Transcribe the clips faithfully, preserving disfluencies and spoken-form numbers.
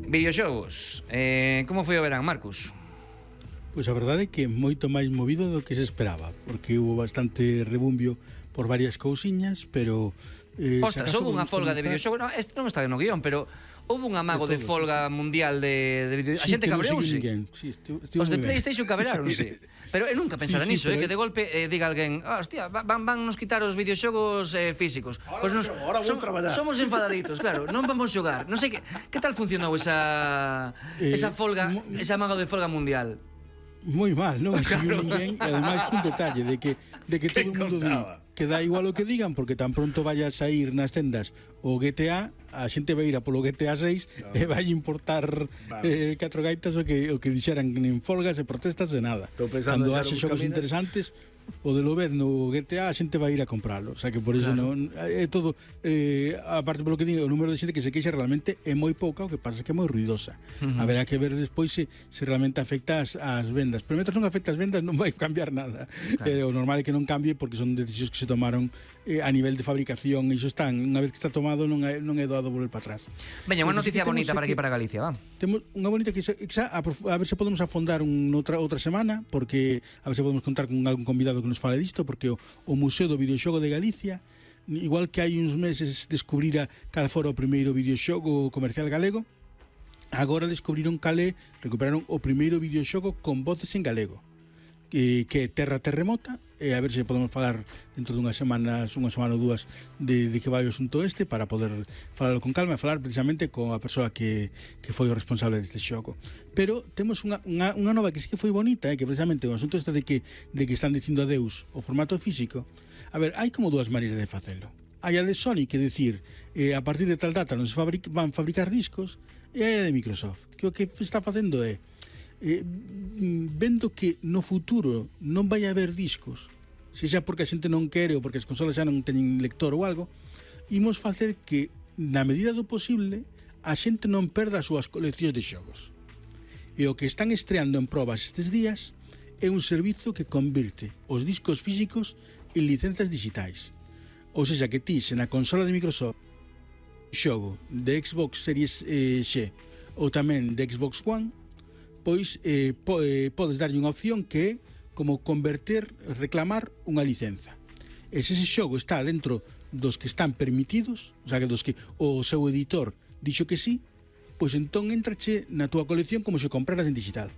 videoxogos. Eh, como foi o verán, Marcos? Pois a verdade é que moito máis movido do que se esperaba, porque hubo bastante rebumbio por varias cousiñas, pero eh, Ostras, houve unha folga de videoxogos. No, este non está no guión, pero houve un amago de, de folga sí, mundial de, de videoxogos. Sí, a xente cabreouse. Sí, Os de PlayStation cabrearonse. Pero eu nunca pensara sí, sí, niso, eh, que de golpe eh, diga alguén, oh, hostia, van, van nos quitar os videoxogos eh, físicos. Ahora, pues nos, ahora vou traballar. Somos enfadaditos, claro, non vamos xogar. Non sei que, que tal funcionou esa eh, esa folga, esa amago de folga mundial. Moi mal, non claro. Ninguén, e ademais cun detalle de que de que todo o mundo di que dá igual o que digan, porque tan pronto vaya a sair nas tendas o G T A, a xente vai ir a polo G T A seis no. e vai importar vale. eh, catro gaitas o que o que dixeran en folgas e protestas de nada. Cando haxe xogos interesantes, o de lo vez no G T A a xente vai ir a compralo, o sea que por iso claro. non é todo eh, aparte polo que digo, o número de xente que se queixa realmente é moi pouca, o que pasa é que é moi ruidosa. Uh -huh. Haberá que ver despois se, se realmente afecta as, as vendas, pero mentre non afecta as vendas non vai cambiar nada. Claro. Eh, o normal é que non cambie porque son decisións que se tomaron eh, a nivel de fabricación, e iso están, unha vez que está tomado non é, non é doado volver para atrás. Veña, unha noticia bonita para aquí para Galicia, va. Temos unha bonita que xa, xa a, a ver se podemos afondar un, outra, outra semana, porque a ver se podemos contar con algún convidado que nos fale disto, porque o, o Museo do Videoxogo de Galicia, igual que hai uns meses descubrira cal fora o primeiro videoxogo comercial galego, agora descubriron cale, recuperaron o primeiro videoxogo con voces en galego, que, que é Terra Terremota, e a ver se podemos falar dentro dunhas semanas, unha semana ou dúas de, de que vai o asunto este, para poder falalo con calma e falar precisamente con a persoa que, que foi o responsable deste xogo. Pero temos unha, unha, unha nova que sí que foi bonita, eh, que precisamente o asunto este de que, de que están dicindo adeus o formato físico. A ver, hai como dúas maneiras de facelo. Hai a de Sony, que decir, eh, a partir de tal data non se fabric, van fabricar discos, e hai a de Microsoft, que o que está facendo é Eh, vendo que no futuro non vai haber discos, sexa porque a xente non quere ou porque as consolas xa non teñen lector ou algo, imos facer que na medida do posible a xente non perda as súas coleccións de xogos, e o que están estreando en probas estes días é un servizo que convirte os discos físicos en licencias digitais, ou seja que ti, se na consola de Microsoft xogo de Xbox Series eh, X ou tamén de Xbox One, pois eh, po, eh, podes darlle unha opción que é como converter, reclamar unha licenza. E se ese xogo está dentro dos que están permitidos, o sea, que dos que o seu editor dixo que sí, pois entón entrache na túa colección como se compraras en digital,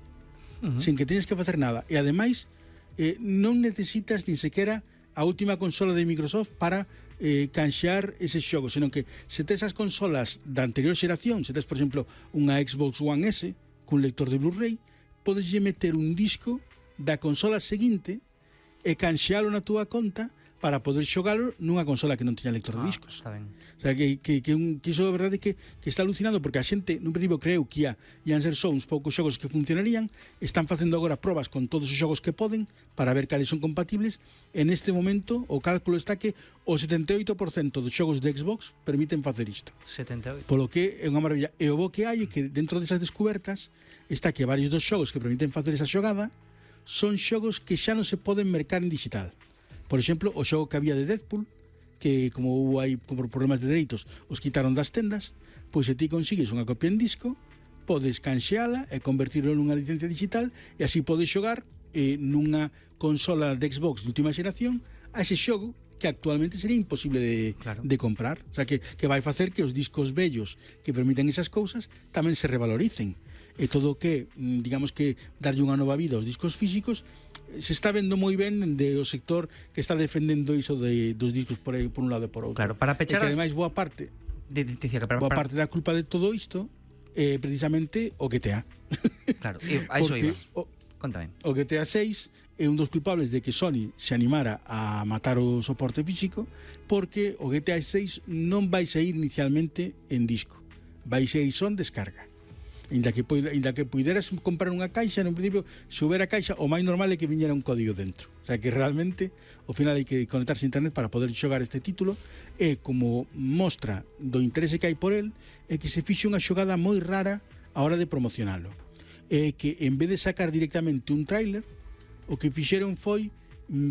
uh -huh. sen que teñes que facer nada. E ademais eh, non necesitas nin sequera a última consola de Microsoft para eh, canxear eses xogos, senón que se tes as consolas da anterior xeración, se tes, por exemplo, unha Xbox One S cun lector de Blu-ray, podeslle meter un disco da consola seguinte e canxealo na túa conta para poder xogalo nunha consola que non teña lector de discos. Ah, está ben. O sea, que, que, que, un, que iso é verdade que, que está alucinando, porque a xente nun principio creu que ia, ian ser só uns poucos xogos que funcionarían, están facendo agora probas con todos os xogos que poden para ver cales son compatibles. En este momento o cálculo está que o setenta e oito por cento dos xogos de Xbox permiten facer isto. setenta e oito. Polo que é unha maravilla. E o bo que hai é que dentro desas descubertas está que varios dos xogos que permiten facer esa xogada son xogos que xa non se poden mercar en digital. Por exemplo, o xogo que había de Deadpool, que como hubo aí por problemas de dereitos os quitaron das tendas, pois se ti consigues unha copia en disco, podes canxeala e convertirlo nunha licencia digital, e así podes xogar eh, nunha consola de Xbox de última xeración a ese xogo que actualmente sería imposible de, claro. de comprar. O sea, que, que vai facer que os discos vellos que permiten esas cousas tamén se revaloricen. E todo o que, digamos que, darlle unha nova vida aos discos físicos, se está vendo moi ben de o sector que está defendendo iso de, dos discos por, aí, por un lado e por outro. Claro, para pechar... E que ademais boa parte, de, de, de, de, para, boa para... parte da culpa de todo isto é precisamente o G T A. Claro, e a iso iba. O, Contame. O G T A seis é un dos culpables de que Sony se animara a matar o soporte físico, porque o G T A seis non vai sair inicialmente en disco, vai sair son descarga. Inda que, inda que puideras comprar unha caixa, no principio, se houbera caixa, o máis normal é que viñera un código dentro. O sea, que realmente, ao final hai que conectarse a internet para poder xogar este título, e como mostra do interese que hai por el, é que se fixe unha xogada moi rara a hora de promocionalo. É que, en vez de sacar directamente un tráiler, o que fixeron foi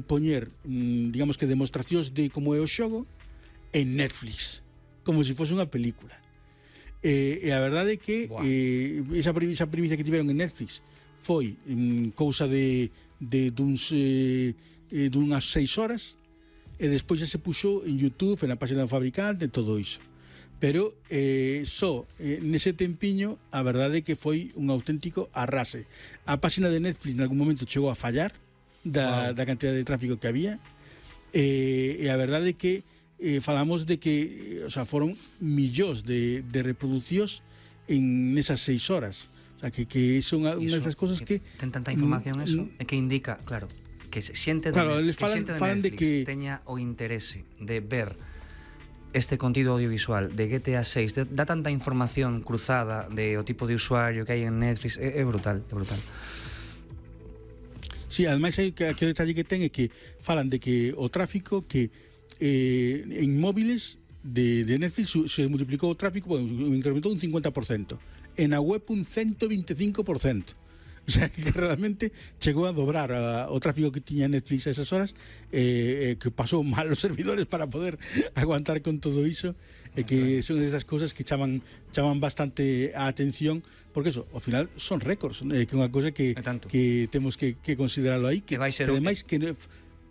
poñer, digamos que demostracións de como é o xogo en Netflix, como se fose unha película. E, e a verdade é que eh, esa, esa primicia que tiveron en Netflix foi en cousa de, de duns, eh, eh, dunhas seis horas, e despois xa se puxo en YouTube, na página do fabricante, todo iso. Pero eh, só eh, nese tempiño a verdade é que foi un auténtico arrase. A página de Netflix en algún momento chegou a fallar da, wow. da cantidad de tráfico que había, e, e a verdade é que eh, falamos de que o sea, foron millóns de, de reproduccións en esas seis horas. O sea, que, que son unha das cosas que, que ten tanta información mm, eso, e que indica, claro, que xente de, claro, Netflix, falan, que xente de falan Netflix de que teña o interese de ver este contido audiovisual de G T A seis, de, dá tanta información cruzada de o tipo de usuario que hai en Netflix, é, é brutal, é brutal. Sí, ademais hai que, que o detalle que ten é que falan de que o tráfico que eh, en móviles de, de Netflix se multiplicou o tráfico, bueno, incrementou un cincuenta por cento, en a web un ciento veinticinco por cento. O sea, que realmente chegou a dobrar a, o tráfico que tiña Netflix a esas horas, eh, eh, que pasou mal os servidores para poder aguantar con todo iso, e eh, que son esas cosas que chaman chaman bastante a atención, porque eso, ao final son récords, eh, que é unha cosa que, que temos que, que considerarlo aí, que, que vai ser que ademais que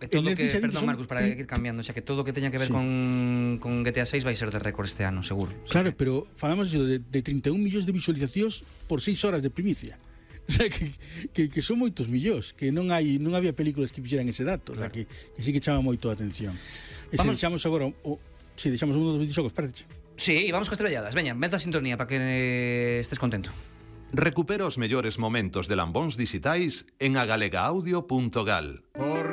E todo que, perdón Marcos, para ir cambiando, xa que todo que teña que ver sí. con, con G T A seis vai ser de récord este ano, seguro. Claro, sí. Pero falamos de, de trinta e un millóns de visualizacións por seis horas de primicia. O sea, que, que, que son moitos millóns, que non hai non había películas que fixeran ese dato, claro. O sea, que, que sí que chama moito a atención. E se deixamos agora, o, si, deixamos un dos videoxogos, espérate. Sí, vamos con estrelladas. Veña, meta a sintonía para que eh, estés contento. Recupera os mellores momentos de Lambóns Dixitais en agalega audio punto gal.